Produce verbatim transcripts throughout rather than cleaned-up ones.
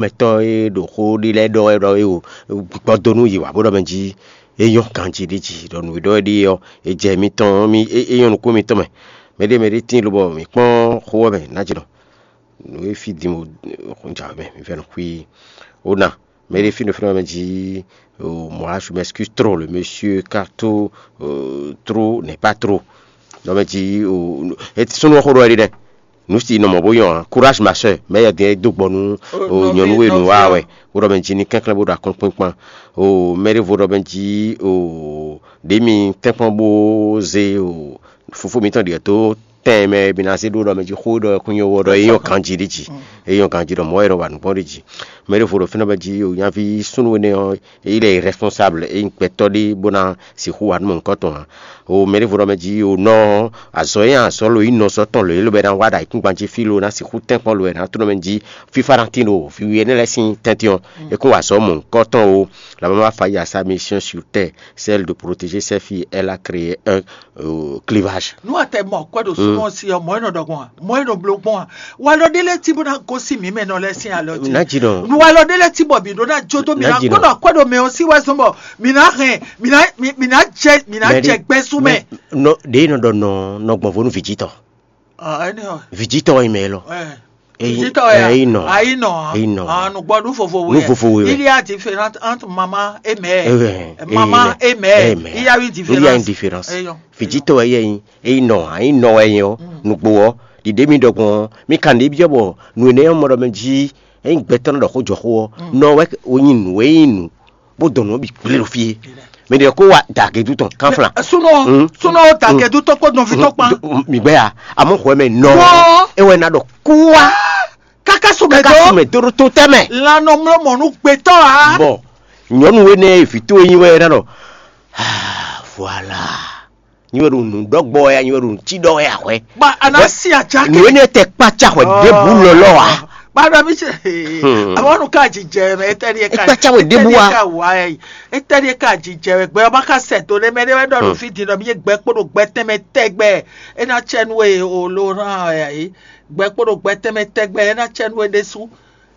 mɛtɔ́ e ɖo xó ɖi lɛ́ɛ ɖɔ wɛ ɖɔ é o gbɔdonu yi wǎ bó ɖɔ mɛ jí é nyɔ́ ganjí ɖi jí ɖɔ nǔ e ɖɔ é ɖi ɔ́ é jɛ mitɔn mi é nyɔ́ nukún mitɔn mɛ. Mɛɖé mɛɖé tíin lobɔ mǐ kpɔ́n xó ɔ́ mɛ ná jí nɔ nǔ e fí din o xó jà mɛ mi fɛ́ nɔ xwí ó ná mɛɖé fí nɔ fí nɔ mɛ jí o moi je m'excuse trop, le monsieur Carto trop n'est pas trop. Nɔ mɛ jí o súnnu xó ɖɔ é ɖi nɛ nǔ si nɔ mɔ bó nyɔ́ ǎ. Courage ma sœur, mɛ yɛ din é dó gbɔ nú o nyɔ̌nu e nǔ wa wɛ bó ɖɔ mɛ jí ní kɛnklɛ́n bó ɖo akɔ́nkpínkpán. O mɛ ɖěvo ɖɔ mɛ jí o ɖě mi tɛ́nkpɔ́n bó zé o fofó mitɔn ɖiɛ dó tɛn mɛ mi ná zé ɖó ɖɔ mɛ jí xó ɖɔ kún nyɔ́ wɔ ɖɔ é nyɔ́ ganjí ɖi jí é nyɔ́ ganjí ɖɔ mɔ̌ wɛ nɔ wa nǔgbɔn ɖi jí. Mɛ ɖěvo ɖɔ fínɛ́ mɛ jí o nyaví súnnu énɛ́ ɔ́ il est responsable é nyí gbɛtɔ́ ɖé bó ná sixú wa nú mɔ̌hunkɔtɔn ǎ. O mɛ ɖěvo ɖɔ mɛ jí o nɔ azɔ̌ e azɔ̌ lo nyí nɔzɔ́ tɔn lo é lo bɛ ná wa ɖo ayǐkúngban jí fí lo ná sixú tɛ́nkpɔ́n lo wɛ ná tló mɛ jí fífá ná tín ɖo fí wi énɛ́ lɛ́ɛ sín tɛ́ntin ɔ́ é kún wa azɔ̌ mɔ̌hunkɔtɔn o. La maman va faillir à sa mission sur terre, celle de protéger ses filles, elle a créé un euh, clivage. Nú a tɛ mɔ kwɛ ɖo súnmọ́ sí ɔ́, mɔ̌ e nɔ ɖɔ gbɔn a? Mɔ̌ e nɔ bló gbɔn a? Walɔ ɖé lɛ́ɛ tí bó ná gosín mǐ mɛ nɔ lɛ́ɛ sín alɔ jí. Ná jí nɔ. Walɔ ɖé lɛ́ɛ tí bɔ mǐ ɖó ná jó dó mǐ ná Ná jí nɔ. Kpɔ́ ɖɔ kwɛ ɖo mɛ ɔ́ sí wɛ zɔn bɔ mǐ ná hɛn mǐ ná mǐ mǐ ná jɛ mǐ ná Mɛ jɛ ɖé- gbɛsú mɛ. Nɔ ɖe nɔ ɖɔ nɔ nɔ gbɔn vo nú vǐjitɔ. Ah, ɛnɛ ɔ. Vǐjitɔ wɛ nyí mɛ élɔ́. Ɛ. Eyi- Vǐjitɔ wɛ eyi nɔ. Ayi nɔ. Eyi nɔ. Ah, nùgbɔ nu vovo Nú vovo wɛ. Il y a différence entre maman et mère. Ɛ, ɛ, Maman ɛ, et mère. Ɛ, mère. Il y a une Il y a une différence. Différence. Eyɔn. Vǐjitɔ wɛ yɛ nyi eyi nɔ ayi nɔ wɛ yɛ ɔ nugbo ɔ ɖiɖe mi ɖɔ gbɔn mi kan ɖe biɔ bɔ nu ene ɔmɔ ɖɔ mɛ jí eyi gbɛtɔ nɔ ɖɔ xó jɔ xó ɔ nɔ wɛ o nyi nu e nyi nu bó dɔn nǔ ɔ́ bǐ gblé ɖo fí é. Mɛ ɖě kó wa dagɛdu tɔn kánflán. Súnɔ Mm. Súnɔ ó dagɛdu tɔn kpó nɔví tɔn kpán. Mǐgbɛ́ ya amɔ́ xwɛ mɛ nɔ Wɔ. É wɛ ná ɖɔ kúwa Káká sumɛ káká dó. Sumɛ dó ɖó tó tɛmɛ. Lanɔmlɔmɔ nú gbɛtɔ́ a. Bɔ nyɔnu we nɛ vǐ towe nyi wɛ ná ɖɔ ah, voilà. Nyi wɛ ɖo nǔ ɖɔ gbɔ wɛ nyi wɛ ɖo nǔ cí ɖɔ wɛ ahwɛ. Ba ana Wɛ- si atsa Nyi wɛ nɛ tɛ kpatsa hwɛ ɖebu lɔlɔ wa. Bana mi se. Awɔnu ka jijɛ mɛ etɛni ka Ekpatsa wɛ ɖebu wa. Etɛni ka wa yɛ. Etɛni ka jijɛ wɛ gbɛ ɔba ka sɛ to ne mɛ ne wɛ ɖɔ nu fi di nɔ mi ye gbɛ kpo ɖo gbɛ tɛmɛ tɛgbɛ. Ena tsɛ nu e o lo ran ya yi. Gbɛ kpo ɖo gbɛ tɛmɛ tɛgbɛ ena tsɛ nu e ɖesu.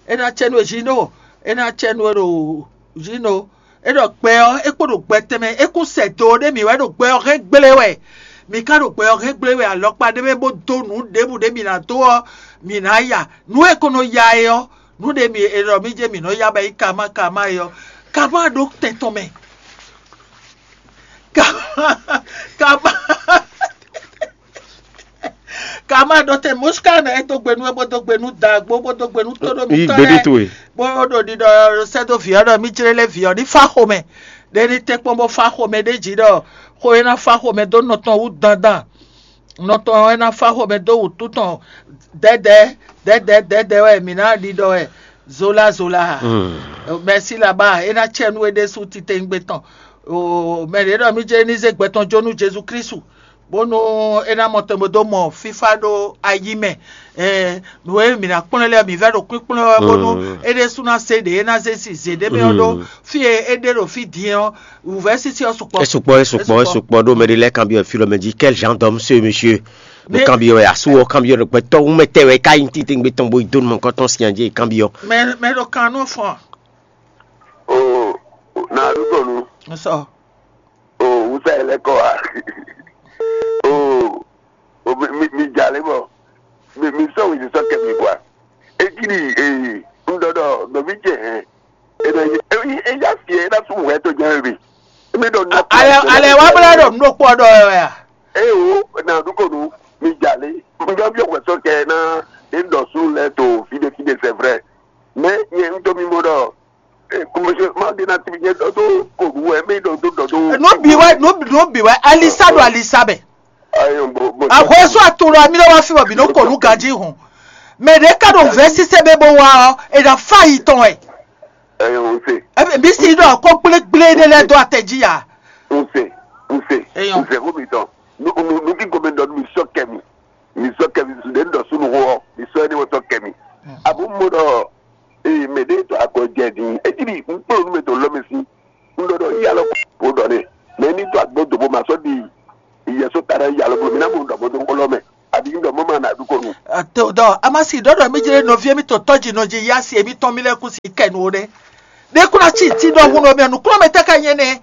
Ena tsɛ nu e zino. Ena tsɛ nu e ɖo zino. E ɖɔ gbɛ ɔ́ é kpo ɖo gbɛ tɛnmɛ é kún sɛ do ɖé mǐ wɛ ɖo gbɛ ɔ́ hɛn gblé wɛ. Mǐ ka ɖo gbɛ ɔ́ hɛn gblé wɛ alɔkpa ɖé mɛ bó dó nǔ ɖěbǔ ɖé mǐ ná dó ɔ́, mǐ ná ya. Nǔ e ko nɔ ya é ɔ́, nǔ ɖé mǐ è ɖɔ mǐ jɛ mǐ nɔ ya bɔ é nyí kama kama é ɔ́, kama ɖó tɛn tɔn mɛ. Kama kama Kama ɖɔ tɛ Moska nɛ é dó gbe nú é bó dó gbe nú dagbo bó dó gbe nú tóɖó Yí mitɔn gbéɖé lɛ́ɛ towe. Bó ɖo ɖiɖɔ sɛ́ dó vǐ ɔ́ ɖɔ mí jlé lɛ́ vǐ ɔ́ ní fá xomɛ. Ɖé ní tɛ́nkpɔ́n bó fá xomɛ ɖé jí ɖɔ xó é ná fá xomɛ dó nɔ tɔn wú dandan. Nɔ tɔn é ná fá xomɛ dó wǔtu tɔn dɛ́dɛ́ dɛ́dɛ́ dɛ́dɛ́ wɛ mǐ ná ɖiɖɔ wɛ zola zola. Mɛ̌si laba é ná cɛ nú é ɖésú titewungbe tɔn. Mɛ ɖě ɖɔ mí jlé ní zé gbɛ tɔn jó nú Jezu Klísu. Bónú é ná mɔ tɛn bó dó mɔ fífá ɖó ayi mɛ. Nǔ e mǐ ná kplɔ́n lɛ́ɛ mǐ vɛ́ ɖo kpínkplɔ́n wɛ bónú é ɖésú ná se ɖě é ná zé si zě ɖé mɛ ɔ́ ɖó fí e é ɖe ɖo fí din ɔ́, wǔvɛ́ sísí ɔ́ sukpɔ́. É sukpɔ́, é sukpɔ́, é sukpɔ́ ɖó mɛɖé lɛ́ɛ kanbyɔ́ fí ɖɔ mɛ jí quel genre d'homme ce monsieur? Mɛ kanbyɔ́ wɛ asú ɔ́ kanbyɔ́ ɖo gbɛtɔ́ wú mɛ tɛ wɛ é ká nyí titewungbe tɔn bó yi dó nú mɔ kɔ́tɔn sin jí é kanbyɔ́. Mɛ mɛ ɖo kan nú fɔn. O na ɖu tɔnu. Sɔ. O wusa yɛ lɛ kɔ wa. O o mi mi mi dza lé bɔ mi mi sɔ wezi sɔ kɛ mi bɔ a. Eti ni ee n dɔ dɔ dɔ mi jɛ hɛn. E na ye e ya fiɛ e na sún wɛ to jɛ mi. E mi dɔ na. Alɛ alɛ wa bla dɔ nu kpɔ dɔ yɛ ya. Ee o na du ko nu mi dza lé. N dɔ bi o wɛ sɔ kɛ na e dɔ su lɛ to fide fide c'est vrai. Mais nyɛ n to mi mo dɔ. Ee, kòmɛsɛ ma ɖe na tibi nyɛ dɔ do ko nu wɛ mi dɔ do dɔ do. Nú bi wɛ nú nú bi wɛ alisa ɖo alisa mɛ. Ayo bo bo. Ahwɛsó atolo ami ɖe wá fi bɔ bi nɔ kɔ nu ganji hɔn. Mɛ ɖe ka ɖo vɛ sise bɛ bɔ wa ɔ, e ɖa fa yi tɔn wɛ. Ayo n se. Ɛbɛ bi si ɖɔ ko gblégblé ɖe lɛ do atɛ ji ya. N se n se Eyɔn. N se ko mi tɔn. Nu nu nu ki gɔmɛ dɔ mi sɔ kɛ mi. Mi sɔ kɛ mi su ɖe n dɔ sunu hɔ mi sɔ ɛni wɔ sɔ kɛ mi. Abo mo dɔ ee mɛ ɖe tɔ akɔ jɛ din. Eti bi n kpɔ nu mɛ tɔ lɔ mi si. N dɔ dɔ yalɔ ko dɔ ne. Mɛ ni tɔ agbo dobo ma sɔ di. Yɛsɔ ta ɖe yalɔ bo mi na mo dɔ mo do kɔlɔ mɛ. Abi n dɔ mo ma na du ko nu. Ate o Tɔ amasi ɖɔɖɔ mi jlé nɔví mi tɔ tɔji nɔ ji yá si mi tɔn mi lɛ kú si kɛ nu ɖe. Ɖe kú na ci ti ɖɔ hun nɔ mi nukúnɔ mi tɛ ka nyɛ nɛ.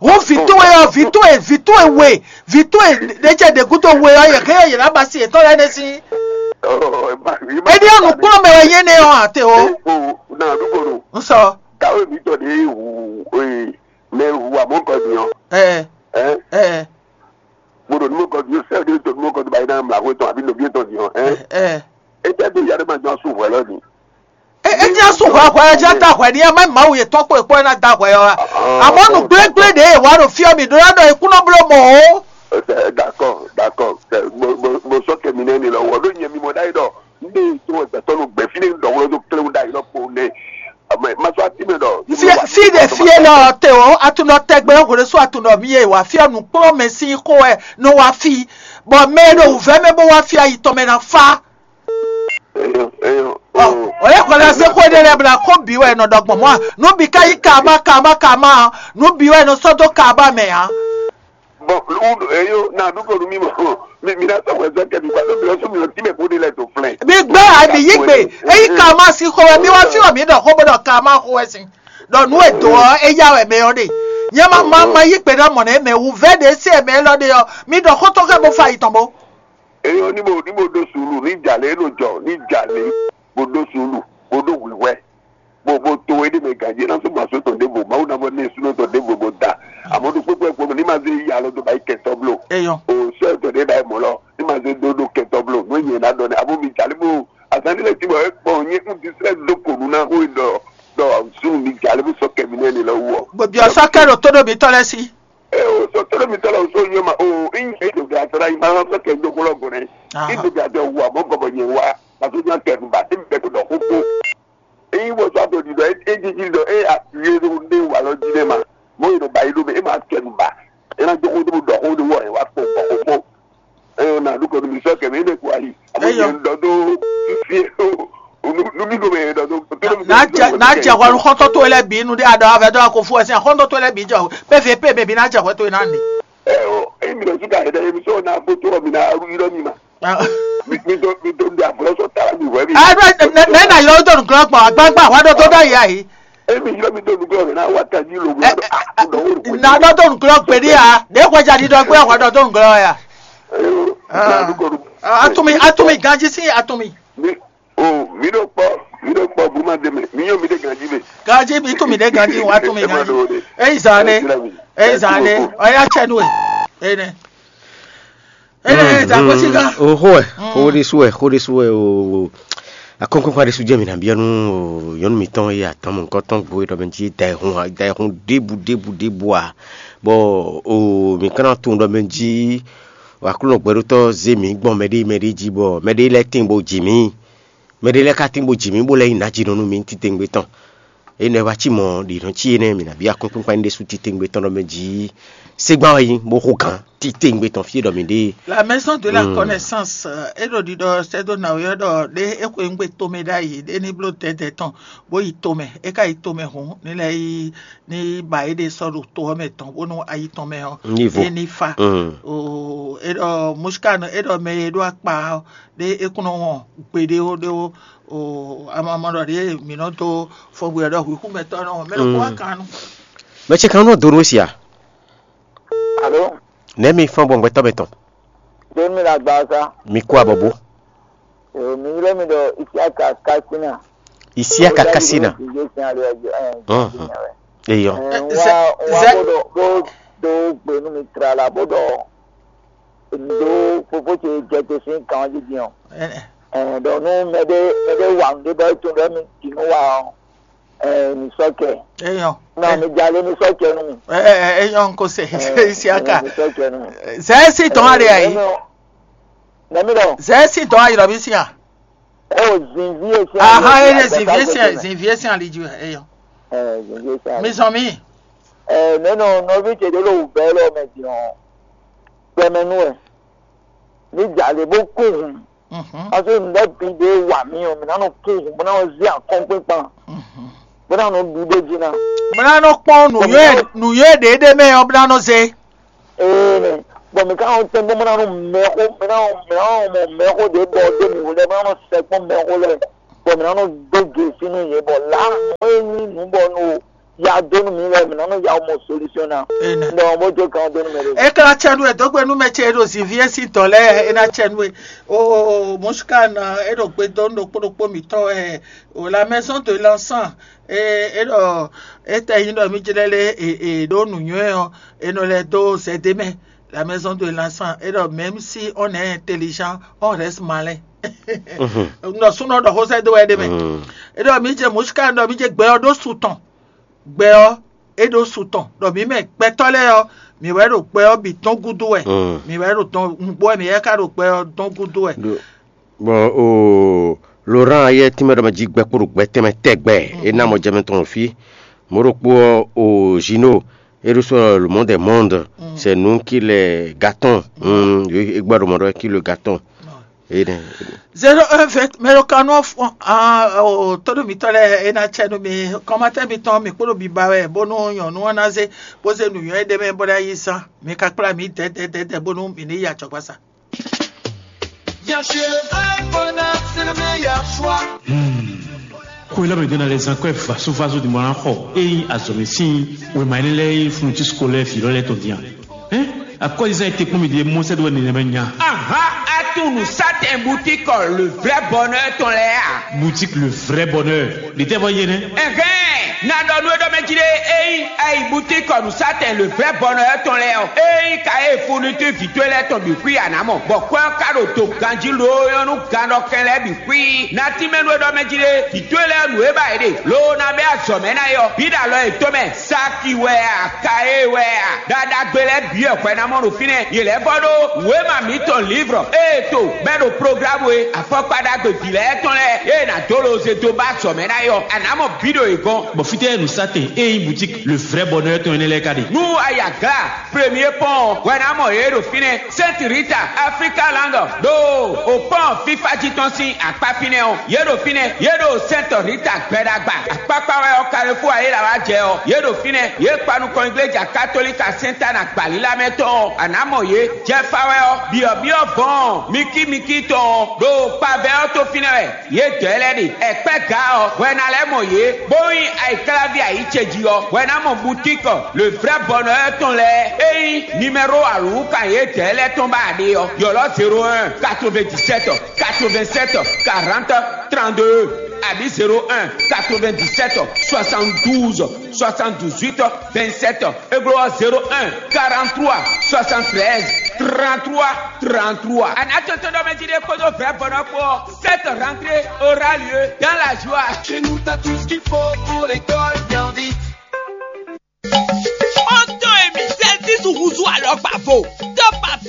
Wo vǐ towe ɔ, vǐ towe, vǐ towe we, vǐ towe ɖe jɛ ɖe gúdo we ɔ, yɛ kɛ yɛ na ba si etɔn lɛ ne si. Edi ɔ nukúnɔ mɛ wɛ nyɛ nɛ ɔ ate o. Na ɖugbolo. Nsɔ. Kawe mi tɔ de hu, mɛ hu amɔ kɔ diɔ. Ɛ. Ɛ. Ɛ. Mo ɖo numɔkɔ dio sɛ ɖe to numɔkɔ do ba yi na mla ko tɔn abi nɔbi tɔn diɔ. Ɛ. Ɛ. Etɛ do ya ɖe ma jɔ su hwɛ lɔ ni. E e nya su hwɛ hwɛ ja da hwɛ ni ɛ ma mawu yetɔn kpo ekpɔ ɛ na da hwɛ ɔ. Amɔ nu gblégblé ɖe wa ɖo fiɔ mi ɖo la ɖɔ ekúnɔ bló mɔ o. D'accord, d'accord. Mo sɔ kɛ mi nɛ ni lɔ wɔ ɖo nyɛ mi mɔ ɖayi ɖɔ n ɖe to ɛgbɛtɔ nu gbɛ fi ne n ɖɔ wolo do kle da yi lɔ kpo ne. Ame ma sɔ ati mɛ ɖɔ. Fie fie ɖe fie lɔ te o atunɔ tɛgbɛ hwele so atunɔ mi ye wa fiɔ nukplɔ mɛ si xo ɛ no wa fi bɔ mɛ ɖo wuvɛ mɛ bo wa fi ayi tɔn mɛ na fa. Eyo, eyo. Ɔ, o ye xɔlɛ se xo ɖe lɛ bla ko bi wɛ nɔ ɖɔ gbɔn mɔ nu bi ka yi kama kama kama nu bi wɛ nɔ sɔ do kama mɛ a. Bon, eyo na ɖu ko nu mi mɔ mi mi na sɔ wɛ zɔ kɛ mi gba ɖo mi lɔ so mi lɔ ti mɛ ko ɖe lɛ do flɛ. Mi gbɛ a mi yi gbe eyi kama si xo wɛ mi wa fi wɛ mi ɖɔ xo bo ɖɔ kama xo wɛ si ɖɔ nu e do ɔ eya wɛ mɛ ɔ ɖe. Nyɛ ma ma ma yi gbe na mɔ nɛ mɛ wu vɛ ɖe se mɛ lɔ ɖe ɔ mi ɖɔ xo tɔ kɛ bo fa yi tɔn bo. Eyo ní mo ní mo ɖó sùúrù ní jàlé é nɔ jɔ ní jàlé mo ɖó sùúrù mo ɖó wǐwẹ́ mo mo to é ɖé mɛ gǎnjé ná só gbàsó tɔn ɖěvo Mawu ná vɔ ní èsúná tɔn ɖěvo mo da àmọ́ ɖo kpékpé kpó ní ma zé yí alɔ tó ba yí kɛtɔ bló Eyɔn. O sɔ tɔn ɖé ɖa mɔ lɔ ní ma zé dó ɖó kɛtɔ bló nú nyɛ ná ɖɔ ní abo mi jàlé mo azán nílẹ̀ tí mo ɛ kpɔn nyé ń disrɛ dó kò nú ná xó é ɖɔ ɖɔ sùn mi jàlé bó sɔ kɛmi nɛ ni lɔ wú ọ. Gbòbí ọ̀sán kẹ́rù tó dòbí tọ́lẹ́ sí. Ee, o sɔ tɔlɔ mi tɔlɔ so nyɔ ma o in e do ga sara i ma sɔ kɛ do kolo gɔnɛ. I do ga de wa mo gɔbɔ nyɛ wa. Paso nya kɛ nu ba ti bɛ ko dɔ ko ko. E yi wo sɔ to di dɔ e di di dɔ e a ye do de wa lɔ di ne ma. Mo yi do ba yi do be e ma kɛ nu ba. E na do ko do dɔ ko do wɔ e wa ko ko ko. E na du ko mi sɔ kɛ mi ne ko ayi. Amo nyɛ dɔ do fie o. Nu mi ko me dɔ do. N'a jɛ n'a jɛ hɔn xɔntɔ to lɛ bi nu de a dɔ avɛ dɔ ko fo ɛsɛ xɔntɔ to lɛ bi jɔ pe fe pe be bi n'a jɛ hɔn to na ni. Emi ɖo suka yɛ ɖe emi sɔ na kpotɔ mi na aɖu yirɔ mi ma. Mi mi do mi do ɖe ablɔ sɔ ta mi wɛ mi. Ɛɛ ne ne na yɔ dɔ nuglɔ gbɔn agbagba wa dɔ dɔ da ya yi. Emi yirɔ mi do nuglɔ mi na wa ta ji lo mi. Na dɔ dɔ nuglɔ gbedi ya de kɔja di dɔ gbɛ wa dɔ dɔ nuglɔ ya. Atumi atumi ganji si atumi. Mi o mi ɖo kpɔ mi ɖo kpɔ bu ma de mɛ mi nyɔ mi de ganji mɛ. Ganji mi tún mi ɖe ganji wa tún mi ganji. Eyi zan ne eyi zan ne ɔya tsɛ nu e. Eyi ne eyi ne eyi zan ko si gan. O xo ɛ xo ɖe su ɛ xo ɖe su ɛ o akɔnkɔnkɔ ɖe su jɛ mi na biɔ nu o nyɔnu mitɔn ye atɔn mɔ nukɔ tɔn gbo ɖɔ mɛ ji da ehun da ehun ɖebu ɖebu ɖebu a bɔ o mi kana tun ɖɔ mɛ ji o aklunɔ gbɛɖotɔ ze mi gbɔn mɛ ɖe mɛ ɖe ji bɔ mɛ ɖe lɛ tin bo ji mi. Mɛ ɖé lɛ́ɛ ka tín bó ji mǐ bó lɛ́ nyí nǎjínɔ nú mǐ titewungbe tɔn. Énɛ́ wá cí mɔ̌ ɖě nɔ cí énɛ́ mǐ ná byɔ́ akɔ́nkpinkpan ní ɖésú titewungbe tɔn ɖɔ mɛ jǐ ségbán wɛ nyí bó xo gǎn titewungbe tɔn fí e ɖɔ mǐ ɖe é. La maison de la connaissance é ɖo ɖiɖɔ sɛ́ dó nǎwe ɔ́ ɖɔ ɖé é xweyǐngbe tomɛ ɖ'ayǐ ɖé ní bló dɛ̌dɛ̌ tɔn bó yi tomɛ. É ka yi tomɛ hǔn ní lɛ́ yi ní ba éɖée sɔ́ ɖo to ɔ́ mɛ tɔn bónú ayi tɔn mɛ ɔ́ Ní vo. É ní fa. Mm. Oo, é ɖɔ Muskanu é ɖɔ mɛ e ɖó akpa ɔ́ ɖé é kún nɔ wɔn gbeɖé ó ɖé ó. Oo, amamɔ ɖɔ ɖě mǐ nɔ dó fɔngbwe ɔ́ ɖɔ hwixúmɛtɔ́ nɔ mɛ ɖokpó wá kan nu. Mɛ ce kan nɔ do nú we sia. Alo. Nɛ̌ mi fɔ́n gbɔn gbɛtɔ́ mɛ tɔn? Ɖé mi le agbaza. Mi kú abɔbó. Ee, mi ylɔ́ mi ɖɔ Isiaka Kasina. Isiaka Kasina. Ìyé sin ali ɔjɔ ɛ Hɔn, hɔn. Eyɔ. Ɛ, n wá n wá Zɛ- bó ɖɔ bó ɖó gbe nú mi tlala bó ɖɔ ndo fofo ce jɛ te sín kan ɔ́ jí din ɔ. Ɛ, Ɛ, ɖɔ nú mɛɖé mɛɖé wa nǔɖé bɔ é tunwun ɖɔ mi ɖi nú wa ɔ́, ɛ, mi sɔ́ kɛ. Eyɔ. Non, mi jalé mi sɔ́ kɛ nú mi. Ɛ ɛ ɛ eyɔ nko se Ɛ, Isiaka. Mi sɔ́ kɛ nú mi. Zɛ si tɔn ale ayi. Nɛmi ɖɔ. Zɛ si tɔn ayi lɔ bi si a. O zinvi esi. Aha ene zinvi esi zinvi esi ali ju eyɔ. Ɛ, zinvi esi. Mi sɔn mi. Ɛ, nɛnɔ nɔvi ce ɖe lo bɛ lɔ mɛ din ɔ. Gbɛmɛ nú ɛ. Mi jalé bó kú hùn. Mhm. Parce que nǔɖé bǐ ɖé wa mì ɔ́, mǐ ná nɔ kú hǔn, bó ná nɔ zé akɔ́nkpínkpan, Mhm. bó ná nɔ ɖu ɖó jí ná. Bó ná nɔ kpɔ́n nǔnywɛ́ nǔnywɛ́ ɖě ɖé mɛ ɔ́, bó ná nɔ zé. Ee nɛ. Bɔ mǐ ka nɔ tɛ́n bɔ mɔ ná nɔ mɛxó mɛ ná nɔ mɛ ná nɔ mɔ mɛxó ɖě bɔ ɖó mǐ lɛ́ɛ mɔ ná nɔ sɛkpɔ́ mɛxó lɛ́ɛ, bɔ mǐ ná nɔ dó gěsí nú yě, bɔ lǎ nǔ e nyí nǔ bɔ nú ya dó nú mǐ lɛ́ɛ mǐ ná nɔ ya mɔ solution ná. Amen. Ɖɔ bó jó kan dó nú mɛ ɖé. E ka ná cɛ nú e dó gbe nú mɛ ce e ɖo zǐnví e sín dɔ̌ lɛ́ɛ e ná cɛ nú e. O mɔ̌súká ná e ɖo gbe dó nú ɖokpó ɖokpó mǐtɔn wɛ o la maison de l'enfant. E e ɖɔ e tɛ nyí ɖɔ mí jlɛ́ lé e e ɖó nǔnywɛ́ ɔ́, e nɔ lɛ́ dó zɛdé mɛ. La maison de l'enfant e ɖɔ même si on est intelligent, on reste malin. Nɔ súnɔ ɖɔ xó sɛ́ dó wɛ ɖé mɛ. E ɖɔ mí jɛ mɔ̌súká ɖɔ mí jɛ gbɛ ɔ́ ɖó su tɔn. Gbɛ ɔ́ é ɖó su tɔn ɖɔ mǐ mɛ gbɛtɔ́ lɛ́ɛ ɔ́, mǐ wɛ ɖo gbɛ ɔ́ bǐ tɔn gúdo wɛ. Mǐ wɛ ɖo tɔn nǔgbó wɛ mǐ wɛ ka ɖo gbɛ ɔ́ tɔn gúdo wɛ. Bɔ o Laurent ayɛ tínmɛ ɖɔ mɛ jí gbɛ kpó ɖo gbɛ tɛnmɛ tɛgbɛ. É ná mɔ jɛmɛ tɔn fí. Mɔ̌ ɖokpó ɔ́, o Gino, é ɖó sɔ́ le monde monde, c'est nous qui les gâtons. É gbɔ ɖo mɔ ɖɔ qui le gâton. Énɛ́. Zéro un vingt mɛ ɖo kan nɔ fún ah o todo mitɔ lɛ ena tsɛ no mi kɔmatɛ mitɔn mi kpolo biba wɛ bónú nyɔnu ɔ́ ná zé bó zé nǔnywɛ́ ɖé mɛ bó ná yi zán mi ka kplá mi dɛdɛdɛdɛ bónú mi ní yi acɔgbasa. Bien sûr, le vrai bonheur, c'est le meilleur choix. Ko ilé mi dena les enquêtes vaso vaso di mɔna xɔ eyi azɔmi sin wema ne lɛ yi funu ti sukɔ lɛ fi lɔ lɛ tɔn diyan. Hein? Akɔlizan ete kpɔn mi di mɔ sɛ do ne mɛ nya. Aha, atu nu satɛn boutique le vrai bonheur tɔn lɛ a? Boutique le vrai bonheur. Di tɛ fɔ yé ne? Ɛhɛn, na dɔ nu e dɔ mɛ jí ɖe eyi ayi boutique nu satɛn le vrai bonheur tɔn lɛ ɔ. Eyi ka e fourniture vituel lɛ tɔn bi kui anamɔ. Bɔ kwɛ ka ɖo to ganji lo yɔnu gan dɔ kɛn lɛ bi kui. Na ti mɛ nu e dɔ mɛ jí ɖe vituel lɛ nu e ba e ɖe. Lo na bɛ azɔ mɛ na yɔ. Bi ɖe alɔ e to mɛ. Saki wɛ a, kaye wɛ a, ɖaɖagbe lɛ́ɛ bǐ wɛ hwɛ ná mɔ ɖo fínɛ́. Yě lɛ́ vɔ ɖó wěma mǐtɔn lǐvrɔ ée to bɛ́ ɖo programu e afɔkpa ɖagbe vǐ lɛ́ɛ tɔn lɛ́ɛ ée nǎ dó loze dó ba azɔ̌ mɛ ná é ɔ́, a nǎ mɔ bǐ ɖo yě gɔ́n. Bɔ fítɛ́ nǔsatɛn e nyí boutique le vrai bonheur tɔn énɛ́ lɛ́ɛ ka ɖe? Nú a yi aglá premier pɔ́n ɔ́, hwɛ ná mɔ yě ɖo fínɛ́. Sainte Rita, Africa Land, ɖo o pɔ́n fífá jí tɔn sín akpá fínɛ́ ɔ́, yě ɖo fínɛ́, yě ɖo Sainte Rita gbɛɖagba. Akpákpá wɛ ɔ́, Carrefour ayéla wá jɛ ɔ́, yě ɖo fínɛ́, yě kpa nukɔn igleja katolika Sainte Anne agbalílá mɛ tɔn ɔ́, a nǎ mɔ yě. Jɛfa wɛ ɔ́, byɔ̌byɔ́ vɔ̌ɔn mikímikí tɔn ɔ́, ɖo kpavɛ ɔ́ tó fínɛ́ wɛ. Yě dɔ̌ lɛ́ɛ ɖe, ɛkpɛ́ gǎ ɔ́, hwɛ ná lɛ́ mɔ yě, bó nyí ayǐkláví ayǐ ce jí ɔ́, hwɛ ná mɔ butíkɔ le vrɛ́ bɔnɔ ɔ́ tɔn lɛ́ɛ. Ényí nimɛ́ro alǔwúkan yědɛɛ lɛ́ɛ tɔn ba a ɖe ɔ́, ylɔ́ zéro un, quatre-vingt-dix-sept, quatre-vingt-sept, quarante, trente-deux, abǐ zéro un, quatre-vingt-dix-sept, soixante-douze, soixante-dix-huit, vingt-sept, é glɔ́ ɔ́ zéro un, quarante-trois, soixante-treize, trente-trois, trente-trois. A nǎ tɔ́ntɔ́n ɖɔ mɛ jí ɖé kpódó vrɛ̌ bɔnɔ kpó ɔ́, cette rentrée aura lieu dans la joie. Chez nous, t'as tout ce qu'il faut pour l'école bien vite. Ó tó emi sɛ́ Jezu húzú alɔkpa vo.